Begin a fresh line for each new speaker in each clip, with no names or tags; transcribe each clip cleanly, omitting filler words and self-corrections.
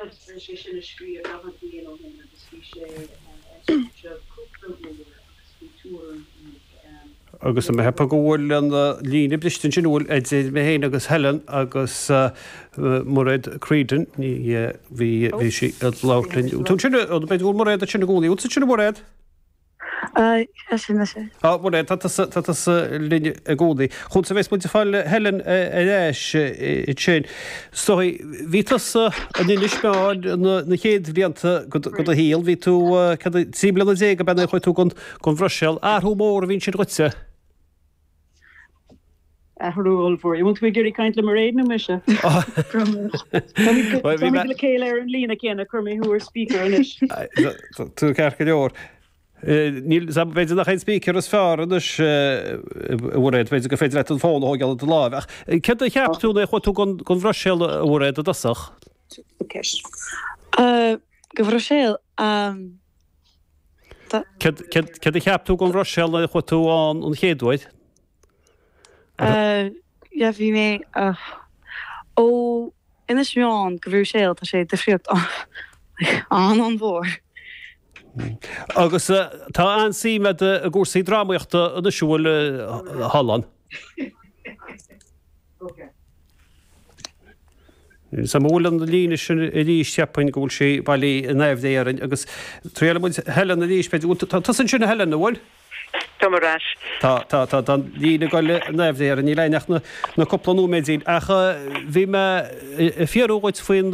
Mairéad tar éis é sin a scríobh 40 bliain ó shin agus bhí sé ar stáitse cúpla uair agus bhí tuairim ag.
Agus tá mé ag ceapadh go bhfuil an líne briste ansin, bhfuil, idir mé féin agus Helen agus Mairéad Creedon, ní bhí bhí sí ag labhairt linn. Tú ansin, b'fhéidir go bhfuil Mairéad ansin i gcónaí. Bhfuil tú ansin a Mhairéad?
Sin mise.
Á, Mairéad, tá tusa, tá tusa linn i gcónaí. Chugat a bheas muid ag fáil Helen ar ais ansin. Is dóigh, bhí tusa in Inis Meáin na chéad bhlianta de do shaol. Bhí tú, cad, 13 bliana ab ea nuair a chuaigh tú don Bhruiséil. Athrú mór a bhí ansin dhuitse.
Athrú ollmhór. An bhfuil tú ag iarraidh caint le Mairéad nó mise? Táimid le chéile ar an líne céanna, chuir mé thú ar speaker
anois. Tú ceart go leor. Níl, b'fhéidir nach é an speaker is fearr anois, a Mhairéad, b'fhéidir gur féidir leat an fón a thógáil i do láimh. Ach céard a cheap tú nuair a chuaigh tú don Bhruiséil, a Mhairéad, i dtosach?
Go Bhruiséil?
Céard a cheap tú don Bhruiséil nuair a chuaigh tú ann an chéad uair?
Yeah, bhí mé ó Inis Meáin go Bruiséil, tá sé difríocht an-an-mhór.
Agus tá an-suim agat i gcúrsaí drámaíochta anois, an bhfuil, a Helen? An bhfuil an líne sin arís, cheapfainn go bhfuil sí bailí in aimhréidh orainn agus triailfidh muid Helen arís, b'fhéidir. Tá tusa ansin a Helen, an bhfuil?
Táim ar ais.
Tá, tá, tá, tá an líne ag goil in aimhréidh orainn, níl againn ach na, na cúpla nóiméidín. Ach bhí mé ag fiafraí dhuit faoin,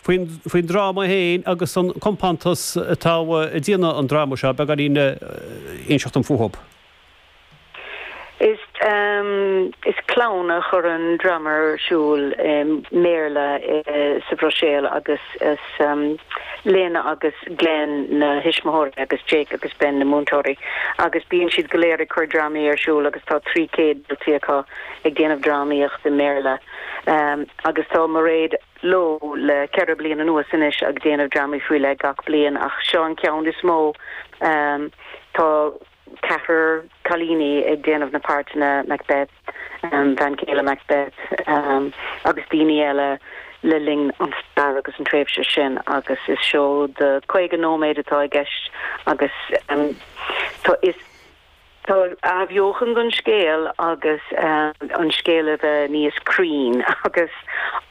faoin, faoin dráma féin agus an compántas atá ag déanamh an dráma seo, beagáinín inseacht dom fúthub.
Is is clann a chuireann dráma ar siúl i mBéarla sa Bhruiséil agus is Lynn agus Glenn na thuismitheoirí agus Jake agus Ben na múinteoirí agus bíonn siad go léir ag cur drámaí ar siúl agus tá 300 daltaí acu ag déanamh drámaíocht i mBéarla agus tá Mairéad leo le ceithre bliana anuas anois ag déanamh drámaí faoi leith gach bliain ach seo an ceann is mó tá ceathrar cailíní ag déanamh na páirteanna, Macbeth, bean chéile Macbeth, agus daoine eile le linn an stair agus an tréimhse sin agus is seó de 50 nóiméad atá i gceist agus tá is tá athbheochan don scéal agus an scéal a bheith níos cruinn agus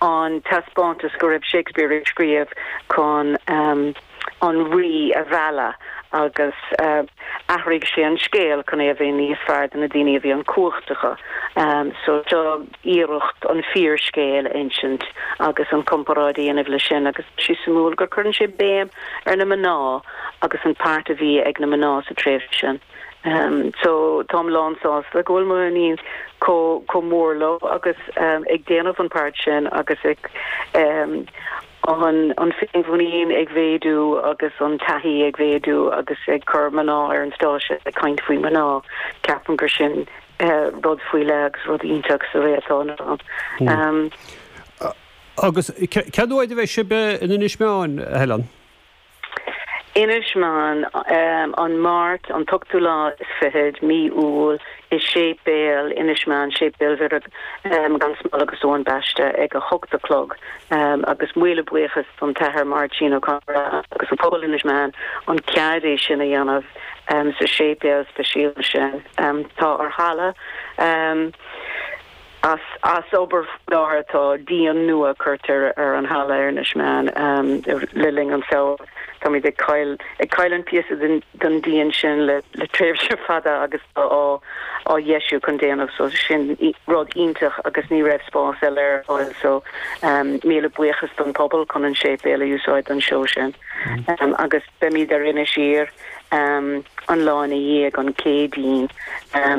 an taispeántas go raibh Shakespeare ag scríobh chun an rí a mhealladh agus athraigh sé an scéal chun é a bheith níos fearr do na daoine a bhí an cumhacht acu. So seo iarracht an fíorscéal a insint agus an comparáid a dhéanamh leis sin agus tá sé suimiúil gur cuireann sé béim ar na mná agus an páirt a bhí ag na mná sa tréimhse sin. So táim lán sásta go bhfuil mo iníon chomh mór leo agus ag déanamh an páirt sin agus ag an an féinmhuinín ag mhéadú agus an taithí ag mhéadú agus ag cur mná ar an stáitse ag caint faoi mná, ceapaim gur sin rud faoi leith agus rud iontach sa ré atá inniu
ann. Agus cén uair a bheidh sibh in Inis Meáin, a Helen?
Inis Meáin, an Máirt, an t-ochtú lá is fichead, mí Iúil, i Séipéal Inis Meáin, Séipéal Mhuire gan Smál agus Eoin Baiste ag a hocht a chlog agus míle buíochas don tAthair Máirtín Ó Conaire agus an pobal Inis Meáin an cead é sin a dhéanamh sa séipéal speisialta sin. Tá ár halla. As as obair faoi láthair tá díon nua curtha ar an halla ar Inis Meáin le linn an samhradh. Táimid ag caill ag cailliúint píosa den den díon sin le le tréimhse fada agus tá á á dheisiú chun déanamh so sin rud iontach agus ní raibh spás eile ar fáil so míle buíochas don pobal chun an séipéal a úsáid don seó sin. Agus beimid ar Inis Oírr an lá ina dhiaidh, an Céadaoin,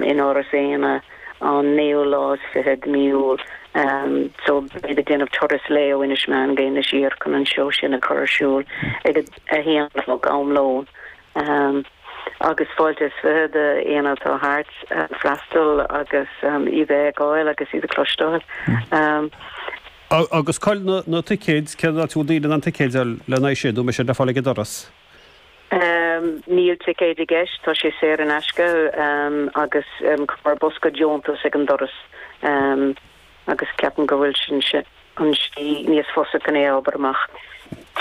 in Áras Éanna. an naoú lá is fiche de mí Iúil. So beimid ag déanamh turas lae ó Inis Meáin go Inis Oírr chun an seó sin a chur ar siúl ag a haon a chlog am lóin. Agus fáilte is fiche d'éinne atá thart freastal agus iad a fheiceáil agus iad a chloisteáil.
Agus cá'il na ticéid, cén áit a bhfuil daoine in ann ticéid a fháil lena aghaidh sin, nó an mbeidh siad le fáil ag an doras?
Níl ticéid i gceist, tá sé saor in aisce agus cuirfear bosca deontais ag an doras agus ceapaim go bhfuil sin an slí níos fusa chun é a obair amach.